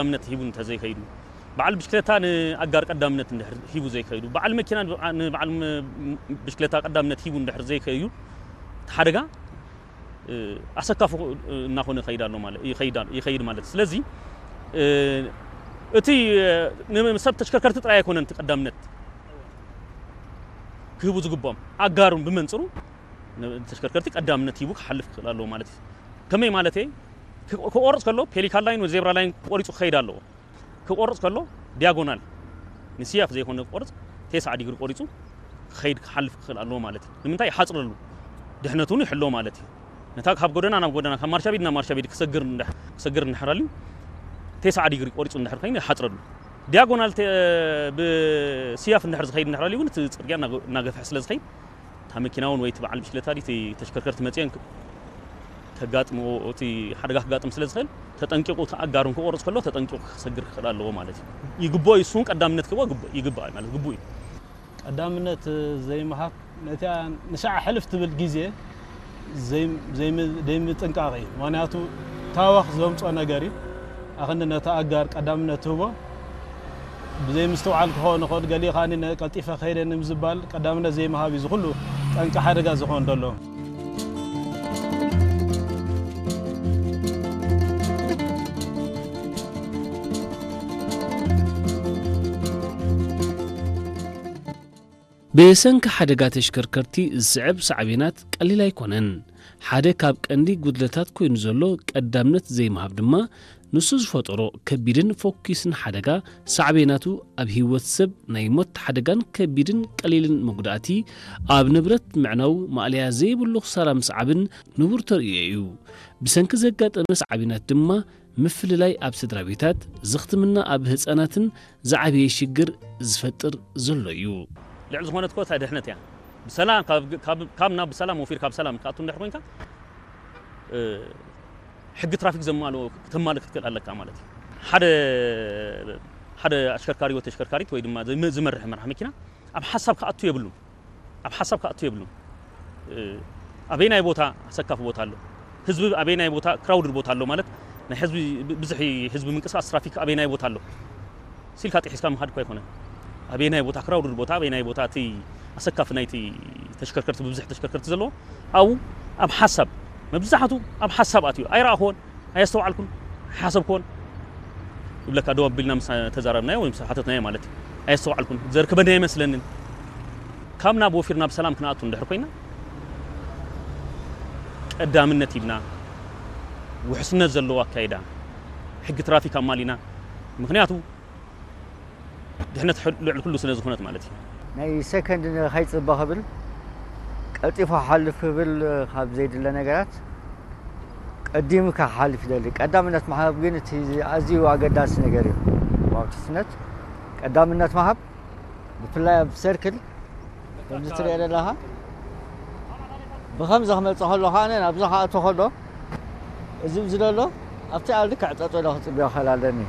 ቀዳምነት ሂቡ እንተዘይከይዱ፣ በዓል ብሽክለታ ንኣጋር ቀዳምነት እንድሕር ሂቡ ዘይከይዱ፣ በዓል መኪና ንበዓ-፣ ንበዓል ም-፣ ብሽክለታ ቀዳምነት ሂቡ እንድሕር ዘይከይዱ፣ እቲ ሓደጋ፣ እ፣ ኣሰካፊ፣ እ፣ እናኾነ ይኸይድ ኣሎ ማለት፣ ይኸይድ ኣሎ፣ ይኸይድ ማለት። ስለዚ፣ እ፣ እቲ፣ እ፣ ንሰብ ተሽከርከርቲ ጥራይ ኣይኮነን እቲ ቀዳምነት ክህቡ ዝግብኦም፣ ኣጋሩን ብመንጽሩ ንተሽከርከርቲ ቀዳምነት ሂቡ ክሓልፍ ክኽእል ኣለዎ ማለት እዩ። ከመይ ማለት እየ? ክ-፣ ክቆርጽ ከሎ ፔሊካን ላይን ወይ ዜብራ ላይን ቆሪጹ ክኸይድ ኣለዎ። ክቆርጽ ከሎ ዲያጎናል ንስያፍ ዘይኮነ ክቆርጽ፣ ተስዓ ዲግሪ ቆሪጹ ክኸይድ ክሓልፍ ክኽእል ኣለዎ ማለት እዩ። ንምንታይ? ይሓጽረሉ፣ ድሕነቱ እውን ይሕሎ ማለት እዩ። ነታ ካብ ጎደና ናብ ጎደና፣ ካብ ማርሻ ቤት ናብ ማርሻ ቤት ክሰግር እንድሕ-፣ ክሰግር እንድሕር ኣልዩ፣ ተስዓ ዲግሪ ቆሪጹ እንድሕር ኮይኑ ይሓጽረሉ። ዲያጎናል ተ-፣ ብስያፍ እንድሕር ዝኸይድ እንድሕር ኣልዩ እውን እቲ ጽርግያ እናገ-፣ እናገፍሐ ስለ ዝኸይድ፣ እታ መኪና እውን ወይ እቲ በዓል ብሽክለታ ድዩ እቲ ተሽከርከርቲ መጺአን ክ-፣ ከጋጥምዎ፣ እቲ ሓደጋ ክጋጥም ስለ ዝኽእል፣ ተጠንቂቑ፣ እቲ ኣጋሩን ክቆርጽ ከሎ ተጠንቂቑ ክሰግር ክኽእል ኣለዎ ማለት እዩ። ይግብኦ እዩ፣ እሱ እውን ቀዳምነት ክህቦ ግብ-፣ ይግባእ ማለት ግቡእ እዩ። ቀዳምነት ዘይምሃብ፣ ነቲኣ ንሻዕ ሕልፍ ትብል ግዜ ዘይ-፣ ዘይም-፣ ዘይምጥንቃቕ እዩ። ምኽንያቱ ታወኽ ዘምጾ ነገር እዩ። ኣኽንዲ ነቲ ኣጋር ቀዳምነት ትህቦ፣ ብዘይ ምስትውዓል ክኸውን ይኽእል፣ ገሊኡ ከኣ ነ-፣ ቀልጢፈ ከይደ ንምዝባል ቀዳምነት ዘይምሃብ እዩ፣ እዚ ኩሉ ጠንቂ ሓደጋ ዝኾን ዘሎ። ብሰንኪ ሓደጋ ተሽከርከርቲ ዝስዕብ ሳዕቤናት ቀሊል ኣይኮነን። ሓደ ካብ ቀንዲ ጉድለታት ኮይኑ ዘሎ ቀዳምነት ዘይምሃብ ድማ፣ ንሱ ዝፈጠሮ ከቢድን ፎኪስን ሓደጋ ሳዕቤናቱ ኣብ ህይወት ሰብ ናይ ሞት ሓደጋን ከቢድን ቀሊልን መጉዳእቲ ኣብ ንብረት ምዕናው ማእለያ ዘይብሉ ክሳራ ምስዓብን ንቡር ተርእዮ እዩ። ብሰንኪ ዘጋጠመ ሳዕቤናት ድማ ምፍልላይ ኣብ ስድራ ቤታት፣ ዝኽትምና ኣብ ህጻናትን ዝዓበየ ሽግር ዝፈጥር ዘሎ እዩ። ልዕሊ ዝኾነት እኮ እታ ድሕነት እያ። ብሰላም ካብ፣ ካብ፣ ካብ ናብ ብሰላም ወፊርካ ብሰላም ክትኣቱ እንድሕር ኮንካ፣ እ፣ ሕጊ ትራፊክ ዘማልኦ፣ ክተማልእ ክትክእል ኣለካ ማለት እዩ። ሓደ፣ ሓደ ኣሽከርካሪ ወይ ተሽከርካሪት ወይ ድማ ዝመ-፣ ዝመርሕ መራሕ መኪና ኣብ ሓሳብ ክኣቱ የብሉን። ኣብ ሓሳብ ክኣቱ የብሉን። እ፣ ኣበየናይ ቦታ ኣሰካፊ ቦታ ኣሎ? ህዝቢ ኣበየናይ ቦታ ክራውድድ ቦታ ኣሎ? ማለት ናይ ህዝቢ ብ-፣ ብዝሒ ህዝቢ ምንቅስቃስ ትራፊክ ኣበየናይ ቦታ ኣሎ? ሲልካ ጥሒስካ ምኻድ እኮ ኣይኮነን። ኣበየናይ ቦታ ክራውድድ ቦታ፣ ኣበየናይ ቦታ እቲ ኣሰካፊ ናይቲ ተሽከርከርቲ፣ ብብዝሒ ተሽከርከርቲ ዘለዎ፣ ኣብኡ ኣብ ሓሳብ፣ መብዛሕቱ ኣብ ሓሳብ ኣትዩ። ኣይረኣኽዎን፣ ኣየስተውዓልኩን፣ ሓሰብክዎን ይብለካ። ደው ኣቢልና ምስ ተዛረብናዮ ወይ ምስ ሓተትናዮ ማለት እዩ። ኣየስተውዓልኩን፣ ዘርክበኒ ኣይመስለንን። ካብ ናብ ወፊርና ብሰላም ክንኣቱ እንድሕር ኮይና፣ ቀዳምነት ሂብና፣ ውሕስነት ዘለዎ ኣካይዳ፣ ሕጊ ትራፊክ ኣማሊና፣ ምኽንያቱ ድሕነት ሕል-፣ ልዕሊ ኩሉ ስለ ዝኾነት ማለት እዩ። ናይ ሰከንድ ንኸይጽበ ክብል፣ ቀልጢፉ ክሓልፍ ክብል፣ ካብ ዘይድለ ነገራት ቀዲሙ ክሓልፍ ይደሊ። ቀዳምነት ምሃብ ግን እቲ ኣዝዩ ኣገዳሲ ነገር እዩ። ኣብ ውሕስነት ቀዳምነት ምሃብ፣ ብፍላይ ኣብ ሰርክል ከምዚ ትሪኦ ዘለኻ፣ ብኸምዚ ክመጽእ ከሎ ከኣ ናብዚ ክኣቱ ከሎ፣ እዚ ኣብዚ ዘሎ ኣብቲ ኣብ ልክዕ ጠጠው ኢለ ክጽበዮ ክኽእል ኣለኒ።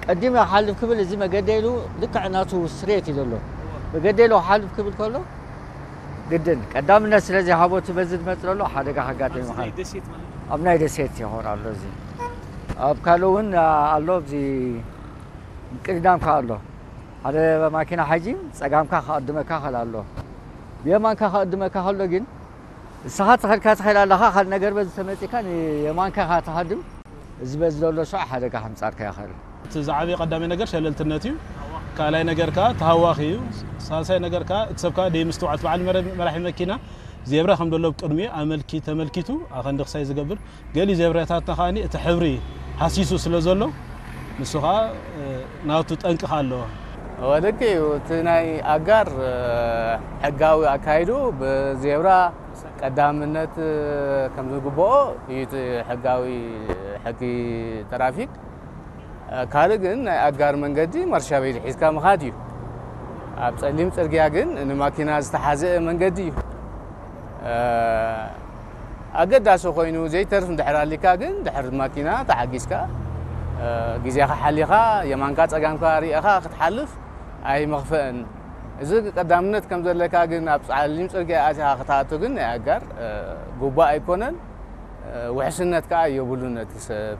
ቀዲሙ ክሓልፍ ክብል፣ እዚ መገዲ ኢሉ ልክዕ ናቱ ስትሬት እዩ ዘሎ። መገዲ ኢሉ ክሓልፍ ክብል ከሎ፣ ግድን ቀዳምነት ስለ ዘይሃቦ፣ እቲ በዚ ዝመጽእ ዘሎ ሓደጋ ከጋጥም እዩ። ኣብዚ ይኽእል። ናይ ደሴት ማለት እዩ። ኣብ ናይ ደሴት ይኸውን ኣሎ እዚ። ኣብ ካልእ እውን ኣሎ፣ ኣብዚ ቅድዳምካ ኣሎ። ሓደ ማኪና ሓይጂ ጸጋምካ ክቕድመካ ይኽእል ኣሎ። ብየማንካ ክቕድመካ ከሎ ግን፣ ንስኻ ተኸልካ ትኸይድ ኣለኻ፣ ካልእ ነገር በዚ ተመጺካ ንየማንካ ኢኻ ትሃድም። እዚ በዚ ዘሎ ሸው ሓደጋ ከምጻልካ ይኽእል። እቲ ዝዓበየ ቀዳማይ ነገር ሸለልትነት እዩ። ካልኣይ ነገር ከኣ ተሃዋኺ እዩ። ሳልሳይ ነገር ከኣ እቲ ሰብ ከኣ ደይምስትውዓል፣ እቲ በዓል መረ-፣ መራሒ መኪና ዜብራ ከም ዘሎ ብቅድሚኡ ኣመልኪ-፣ ተመልኪቱ ኣኸንዲ ክሳይ ዝገብር፣ ገሊ ዜብራታትና ከኣ እቲ ሕብሪ ሃሲሱ ስለ ዘሎ፣ ንሱ ከኣ፣ እ፣ ናቱ ጠንቂ ከኣ ኣለዎ። እወ፣ ልክዕ እዩ። እቲ ናይ ኣጋር፣ እ፣ ሕጋዊ ኣካይዱ ብዜብራ ቀዳምነት፣ እ፣ ከም ዝግብኦ እዩ እቲ ሕጋዊ ሕጊ ትራፊክ። እ፣ ካልእ ግን ናይ ኣጋር መንገዲ ማርሻ ቤት ሒዝካ ምኻድ እዩ። ኣብ ጸሊም ጽርግያ ግን ንማኪና ዝተሓዝአ መንገዲ እዩ። እ፣ ኣገዳሲ ኮይኑ ዘይተርፍ እንድሕር ኣሊካ ግን ድሕሪ ማኪና ተሓጊዝካ፣ እ፣ ግዜኻ ሓሊኻ የማንካ ጸጋምካ ርኢኻ ክትሓልፍ ኣይመኽፍእን። እዚ ቀዳምነት ከም ዘለካ ግን ኣብ ጸሊም ጽርግያ ኣቲኻ ክትኣቱ ግን ናይ ኣጋር፣ እ፣ ግቡእ ኣይኮነን። እ፣ ውሕስነት ከኣ የብሉን ነቲ ሰብ።